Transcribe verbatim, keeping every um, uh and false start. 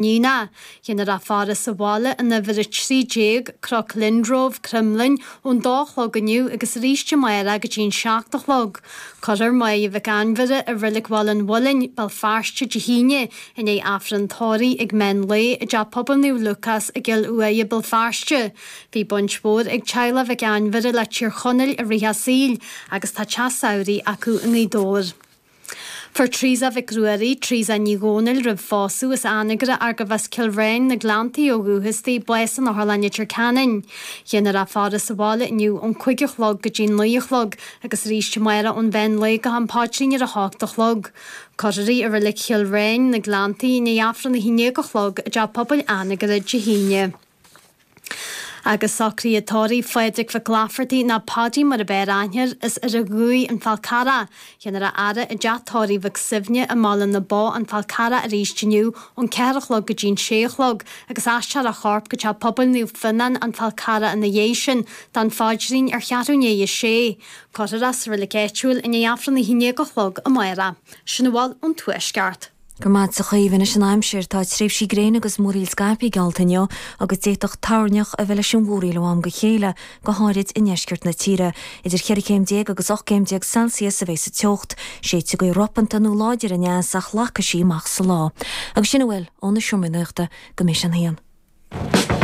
Nína. Déanfar a faire sa bhaile in uimhir a trí déag, Cnoc Lyndrove, Cromghlinn, ón dó a chlog inniu agus arís amárach go dtí an seacht a chlog. Cuirfear Máire Mhic Ainmhire i Reilig Bhaile an Mhuilinn, Béal Feirste, Dé hAoine, i ndiaidh Aifreann tórraimh ag meán lae i dTeach Pobail Naomh Lúcás i gCill Uaighe, Béal Feirste. Bhí baint mhór ag teaghlach Mhic Ainmhire le Tír Chonaill i rith a saoil agus tá teach samhraidh acu i nGaoth Dobhair. Fuair Teresa Mhic Ruairí, Teresa Ní Dhomhnaill roimh phósadh as Anagaire arbh as Cill Bhréin, na Gleanntaí ó dhúchas di, bás in Otharlann Leitir Ceanainn. Déanfar a faire sa bhaile inniu ón cúig a chlog go dtí naoi a chlog agus arís amárach ón mheán lae go ham paidrín ar a hocht a chlog. Cuirfear í i Reilig Chill Bhréin, na Gleanntaí, i ndiaidh Aifreann a haon déag a chlog i dTeach Pobail Anagaire Dé hAoine. Agus socruithe tórraimh Phádraig Mhic Laifeartaigh nó Paidí mar ab fhearr aithne air, as Doire Dhúill, An Fál Carrach. Déanfar a fhaire i dteach tórraimh Mhic Suibhne i mBaile na Bó, An Fál Carrach arís inniu ón ceathair a chlog go dtí an sé a chlog agus aistreofar a chorp go Teach Pobail Naomh Fionnán, An Fál Carrach ina dhiaidh sin don phaidrín ar cheathrú i ndiaidh a sé. Cuirfear é sa reilig áitiúil i ndiaidh Aifreann a haon déag a chlog amárach. Sin a bhfuil ón Tuaisceart. Go raibh maith agat a Chaoimhe. Anois an aimsir. Tá tréimhsí gréine agus múraíl scaipthe geallta inniu agus d'fhéadfadh toirneach a bheith leis an mhúraíl ó am go chéile, go háirid i ndeisceart na tíre. Idir cheithre chéim déag agus ocht gcéim déag Celsius a bheidh sa teocht. Séidfidh gaoth ropanta nó láidir aneas ach lagfaidh sí amach sa lá. Agus sin a bhfuil ó na seomraí nuachta go mbeidh sé an haon.